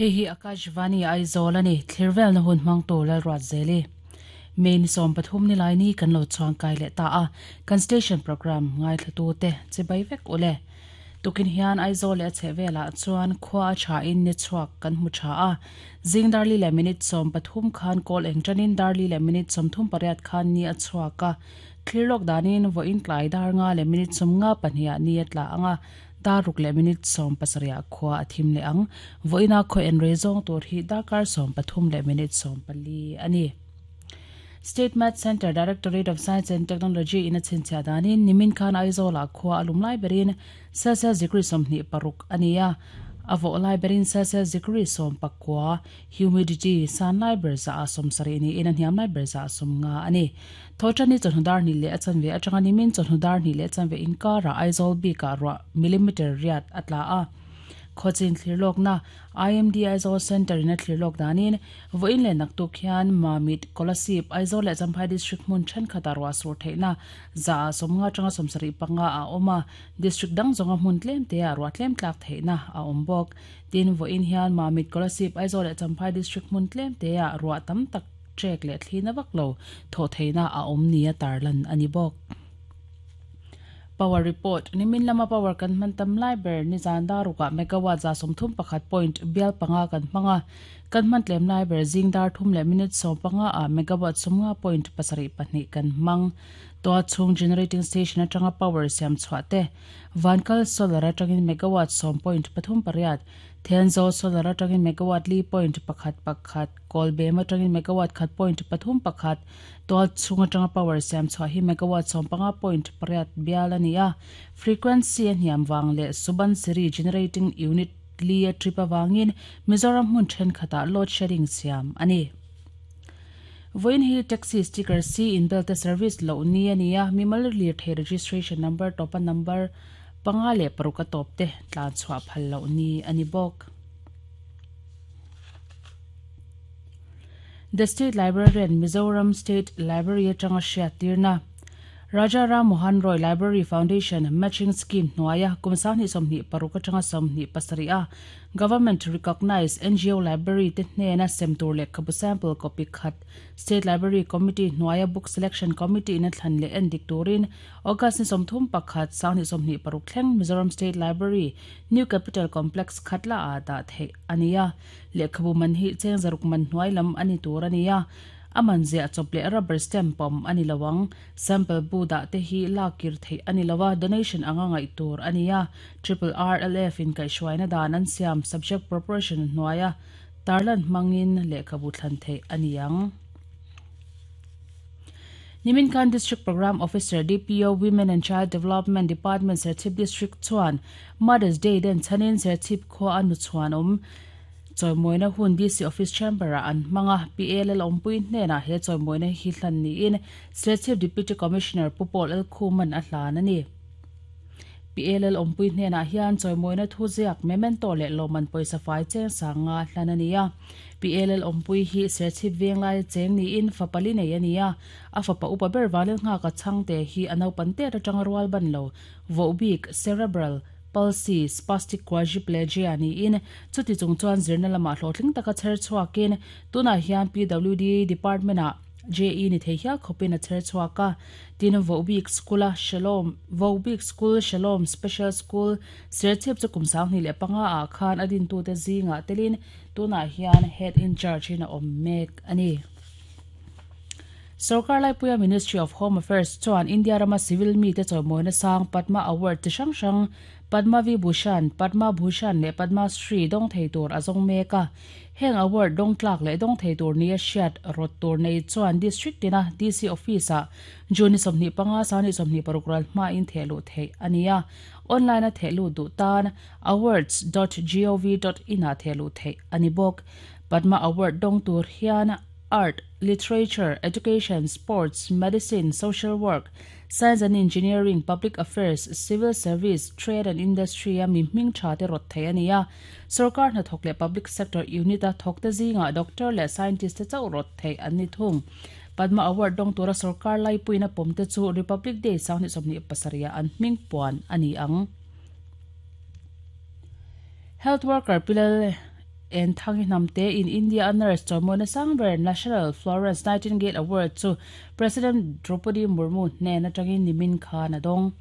Hei hi Akashvani Aizawl a ni, Thlirvelna hun hmangtu Lalruatzeli. May ni 13 nilaini kan lo chuangkai leh ta a, kan station programme ngaithlatute chibai vek u le. Tukin hian Aizawl leh a chhehvelah chuan khua a thain ni chhuak kan hmu tha a, zing darli leh minute 13 khan kawl eng tanin darli leh minute 38 khan ni a chhuak a, thlir lawk danin vawiin tlai dar nga leh minute 52 ah ni a tla ang a, dar ruk leh minute 17 ah khua a thim leh ang. Vawiina khaw en rei zawng tur hi darkar 13 leh minute 14 a ni. State Math Centre Directorate of Science and Technology in a chhinchhiah danin nimin khan Aizawl-ah khua a lum lai berin Celsius degree 26 a ni a, a vawh lai berin Celsius degree 19, humidity san lai ber zah ah 70 niin a hniam lai ber zah ah 50 a ni. Thawhṭani chawhnu dar hnih leh a chanve atanga nimin chawhnu dar hnih leh a chanve inkarah Aizawl bikah ruah millimeter riat a tla a. Khawchin thlir lawkna IMD Aizawl Centre in a thlir lawk danin vawiin leh naktuk hian Mamit, Kolasib, Aizawl leh Champhai District hmun thenkhatah ruah sur theihna 100 ah 50 atanga 75 a awm a, District dang zawnga hmun tlem te ah ruah tlem tlak theihna a awm bawk. Tin, vawiin hian Mamit, Kolasib, Aizawl leh Champhai District hmun tlem te ah ruah tam tak trek leh thlina vak lo thawh theihna a awm nia tarlan a ni bawk. Power report, Nimin lama power kan hman tam lai ber nizan dar rukah megawatt 31 point bial panga kan hmang a, kan hman tlem lai ber zing dar thum leh minute 15 ah megawatt 50 point pasarih pahnih kan hmang. Toa chhung generating station atanga power siam chhuah te, Vankal solar atangin megawatt sawm point pathum pariat, Thenzawl solar atangin megawatt li point pakhat pakhat, Kawlbem atangin megawatt khat point pathum pakhat, Tual chhung atanga power siam chhuah hi megawatt 15 point pariat bial a ni a, frequency a hniam vang leh Subansiri generating unit li a trip avangin Mizoram hmun thenkhatah load shedding siam a ni. Vawiin hi taxi sticker si inbel te service loh ni a ni a, mimal lirthei registration number tawpa number panga leh paruk a tawp te tlan chhuah phal loh ni a ni bawk. The State Librarian, Mizoram State Library atanga hriattirna, Raja Ram Mohan Roy Library Foundation Matching Scheme hnuaia kum 2026 atanga 27 a Government Recognised NGO Library te hnena sem tur lehkhabu sample copy khat State Library Committee hnuaia Book Selection Committee in a thlan leh endik turin August ni 31, 2026 thleng Mizoram State Library, New Capital Complex Khatla ah dah theih a ni a. Lehkhabu man hi cheng zaruk man hnuai lam a ni tur a ni a, a man ziah chawp leh rubber stamp pawm a ni lo ang. Sample bu dah te hi lak kir theih a ni lo a, donation anga ngaih tur a ni a. Triple RLF in kaihhruaina dan an siam subject proportion hnuaia tarlan hmangin lehkhabu thlan theih a ni ang. Nimin khan District Programme Officer, DPO, Women and Child Development Department Serchhip District chuan Mother's Day den chhanin Serchhip khua a nuchhuan awm chawimawina hun DC Office Chamber ah an hmang a, PA Lalawmpui hnenah he chawimawina hi hlan niin Serchhip Deputy Commissioner Pu Paul Elkhuman a hlan a ni. PA Lalawmpui hnenah hian chawimawina thu ziak memento leh lawmman pawisa fai cheng sang nga hlan a ni a. PA Lalawmpui hi Serchhip veng laia cheng niin fapa li nei a ni a, a fapa upa ber Vanlalnghaka chhangte hi a naupan tet atanga rual ban lo Vohbik, cerebral palsy, spastic quadriplegia niin chuti chung chuan zirna lamah hlawhtling taka chher chhuakin tunah hian PWD department-ah JE ni thei hial khawpin a chher chhuak a. Tin, Vohbik School-a Shalom, Vohbik School Shalom Special School, Serchhip chu kum 2005 ah khan a dintute zingah telin tunah hian Head in Charge-in a awm mek a ni. Sorkar laipuia Ministry of Home Affairs chuan India rama civil mite chawimawina sang Padma Award chi hrang hrang Padma Vibhushan, Padma Bhushan leh Padma Shri dawng thei tur a zawng mek a. Heng award dawng tlak leh dawng thei tur nia hriat rawt tur nei chuan District tina DC Office-ah June ni 25, 26 ral hmain thehluh theih a ni a. Online-a thehluh duh tan awards dot gov dot in-ah thehluh theih a ni bawk. Padma Award dawng tur hian Art, Literature, Education, Sports, Medicine, Social Work, Science and Engineering, Public Affairs, Civil Service, Trade and Industry a mi hming tha te rawt thei a ni a. Sorkar hnathawk leh Public Sector Unit a thawk te zingah Doctor leh Scientist te chauh rawt thei an ni thung. Padma Award dawng tura sorkar laipuiin a pawm te chu Republic Day 2027 ah an hming puan a ni ang. Health Worker Pilal. Enthangi Hnamte in India a nurse chawimawina sang ber National Florence Nightingale Award chu President Droupadi Murmu hnen atangin nimin khan a dawng.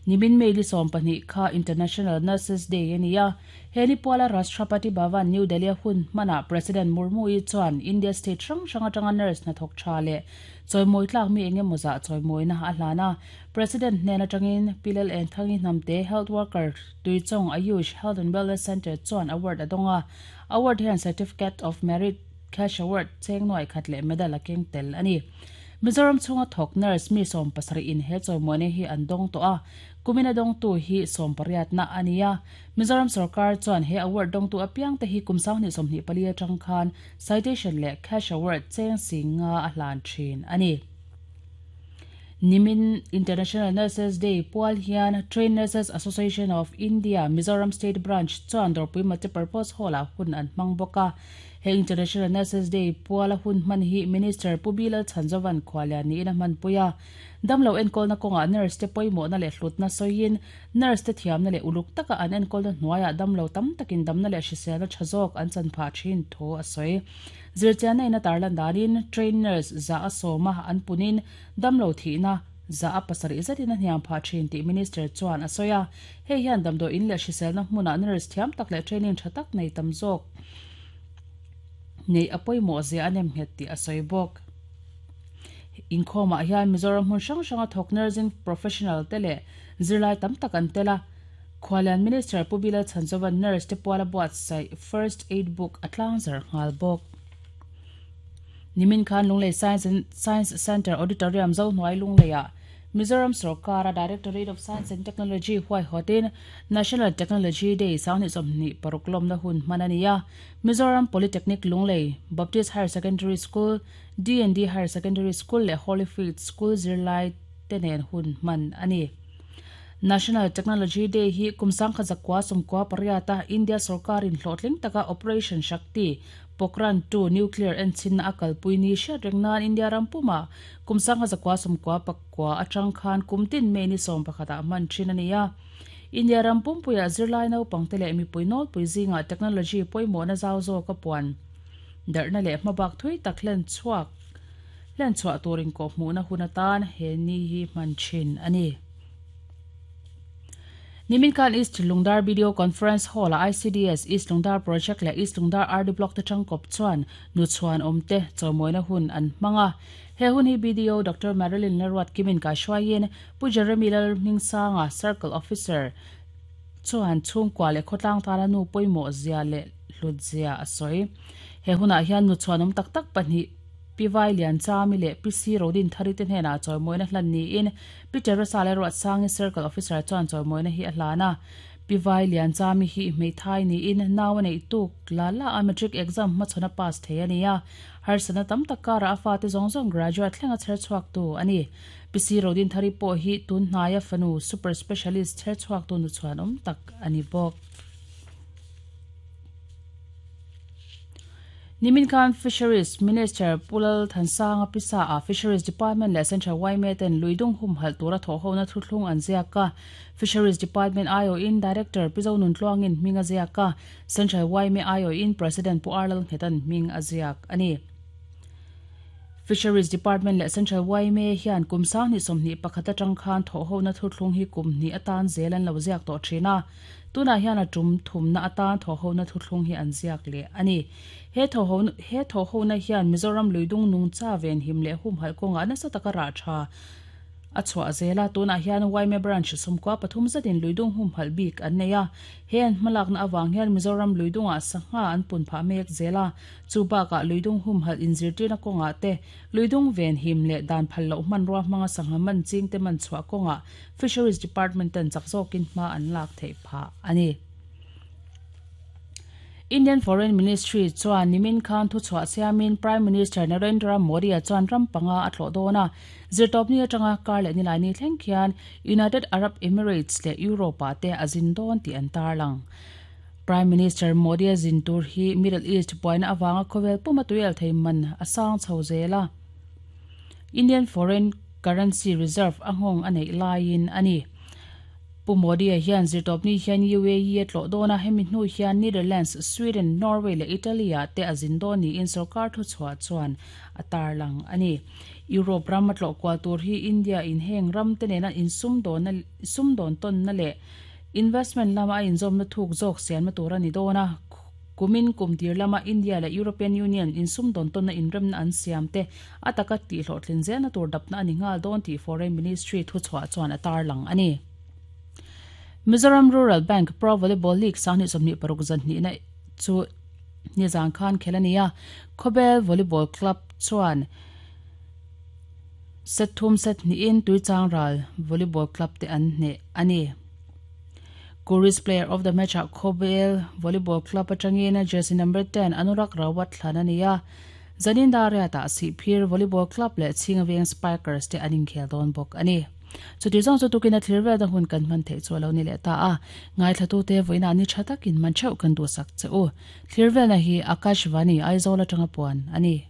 Nimin May li 12 kha International Nurses Day a ni a, he ni puala Rashtrapati Bhavan, New Delhi a hun hmanah President Murmu-i chuan India state hrang hrang atanga nurse hnathawk tha leh chawimawi tlak mi eng emaw zah chawimawina a hlan a. President hnen atangin Pi Lal Enthangi Hnamte Health Worker Tuichawng Ayush Health and Wellness Centre chuan award a dawng a, award hian Certificate of Merit, Cash Award, cheng nuai khat leh medal a keng tel a ni. Mizoram chhunga thawk nurse mi 70 in he chawimawina hi an dawng tawh a, kumin a dawngtu hi 18 na a ni a. Mizoram sorkar chuan he award dawngtu apiang te hi kum 2024 atang khan citation leh cash award cheng 50 a hlan thin a ni. Nimin International Nurses Day pual hian Trained Nurses Association of India, Mizoram State Branch chuan Dawrpui Multipurpose Hall-ah hun an hmang bawk a. He International Nurses Day puala hun hman hi Minister Pu Bilal Chhanzovan khuallian niin a hmanpui a. Damlo enkawlna kawngah nurse te pawimawhna leh hlutna sawiin nurse te thiamna leh uluk taka an enkawlna hnuaiah damlo tam takin damna leh hriselna tha zawk an chan phah thin thu a sawi. Zirchianna in a tarlan danin trained nurse za a sawma an punin damlo thihna za a pasarih zetin a hniam phah thin tih Minister chuan a sawi a. Hei hian damdawi in leh hriselna hmunah nurse thiam tak leh training tha tak nei tam zawk neih a pawimawh zia a nem nghet tih a sawi bawk. Inkhawmah hian Mizoram hmun hrang hranga thawk nursing professional te leh zirlai tam tak an tel a. Khualian Minister Pu Bilal Chhanzovan nurse te puala buatsaih First Aid Book a tlangzar nghal bawk. Nimin khan Lunglei Science and Science Centre Auditorium Zohnuai Lungleiah Mizoram Sorkara Directorate of Science and Technology huaihawtin National Technology Day 2026 lawmna hun hman a ni a. Mizoram Polytechnic Lunglei, Baptist Higher Secondary School, D&D Higher Secondary School leh Holy Faith School zirlai te nen hun hman a ni. National Technology Day hi kum 1998 a India sorkarin hlawhtling taka Operation Shakti, Pokhran 2 nuclear enchinna a kalpui ni hriat reng nan India ram pumah kum 1999 atang khan kum tin May ni 11 ah hman thin a ni a. India ram pumpuiah zirlai naupangte leh mipui nawlpui zingah technology pawimawhna zau zawk a puan darhna leh hmabak thui tak hlen chhuak hlen chhuah tur inkawhhmuhna hun atan he ni hi hman thin a ni. Nimin khan East Lungdar Video Conference Hall-ah ICDS East Lungdar Project leh East Lungdar RD Block te tangkawp chuan nuchhuan awmte chawimawina hun an hmang a. He hun hi BDO Doctor Marilyn Lalruatkimin kaihruaiin Pu Jeremy Lalhmingsanga, Circle Officer, chuan chhungkua leh khawtlang tana nu pawimawh zia leh hlut zia a sawi. He hunah hian nuchhuanawm tak tak pahnih Pi Vai Lian Chami leh Pi Si Rodin Thari te hnenah chawimawina hlan niin Pi Teresa leh Ruatsangi Circle Officer chuan chawimawina hi a hlan a. Pi Vai Lian Chami hi hmeithai niin nau a neih tuk la la a matric exam hmachhawn a pass thei a ni a. Harsatna tam tak karah a fate zawng zawng graduate thleng a chher chhuaktu a ni. Pi Si Rodin Thari pawh hi tun hnaia fanu super specialist chher chhuaktu nuchhuan awm tak a ni bawk. Nimin khan Fisheries Minister Pu Lal Thansanga pisa ah Fisheries Department leh Central yma ten luidung humhalh tura thawhhona thuthlung an ziak a. Fisheries Department aiawhin Director Pi Zonuntluangin hming a ziak a, Central yma aiawhin President Pu Arlal Nghetan hming a ziak a ni. Fisheries Department leh Central yma hian kum 2021 atang khan thawhhona thuthlung hi kum hnih atan zel an lo ziak tawh thin a. Tunah hian a tum thumna atan thawhhona thuthlung hi an ziak leh a ni. He he thawhhona hian Mizoram luidung nungcha venhim leh humhalh kawngah nasa taka rah tha a chhuah zel a. Tunah hian yma Branch 13 zetin luidung humhalh bik an nei a. He an hmalakna avang hian Mizoram luidungah sangha an pun phah mek zel a. Chu bakah luidung humhalh inzirtirna kawngah te, luidung venhim leh dan phal loh hmanrua hmanga sangha man chingte man chhuah kawngah Fisheries Department ten chak zawkin hma an lak theih phah a ni. Indian Foreign Ministry chuan nimin khan thuchhuah siamin Prime Minister Narendra Modi-a chuan ram panga a tlawh dawn a. Zirtawpni atanga kar leh nilaini thleng khian United Arab Emirates leh Europe-ah te a zin dawn tih an tarlang. Prime Minister Modi-a zin tur hi Middle East buaina avanga khawvel puma tuial thei man a sang chho zel a. Indian Foreign Currency Reserve a nghawng a neih laiin a ni. Pu Modi-a hian zirtawpni hian UAE a tlawh dawn a, hemi hnu hian Netherlands, Sweden, Norway leh Italy-ah te a zin dawn niin sorkar thuchhuah chuan a tarlang a ni. Europe ram a tlawh kual tur hi India in heng ram te nena insumdawnna sumdawn tawnna leh investment lama a inzawmna thuk zawk siamna tur a ni dawn a. Kumin kum tir lama India leh European Union insumdawn tawnna inremna an siam te a taka tihhlawhtlin zelna tur dapna a ni nghal dawn tih Foreign Ministry thuchhuah chuan a tarlang a ni. Mizoram Rural Bank Pro Volleyball League 2026 zanhnihna chu nizan khan khel a ni a, Khawbel Volleyball Club chuan set thum set hnihin Tuichangral Volleyball Club te an hneh a ni. Kuris Player of the Match-ah Khawbel Volleyball Club atangin jersey number 10 Anurak Rawat thlan a ni a, Zanin Dariat-ah Sihphir Volleyball Club leh Chhingaveng Spikers te an inkhel dawn bawk a ni. Chuti zawng chu tukin a thlir velna hun kan hman theih chu a lo ni leh ta a, ngaithlatute vawiinah ni tha takin man theuh kan duhsak che u. Thlir velna hi Akashvani, Aizawl atanga puan a ni.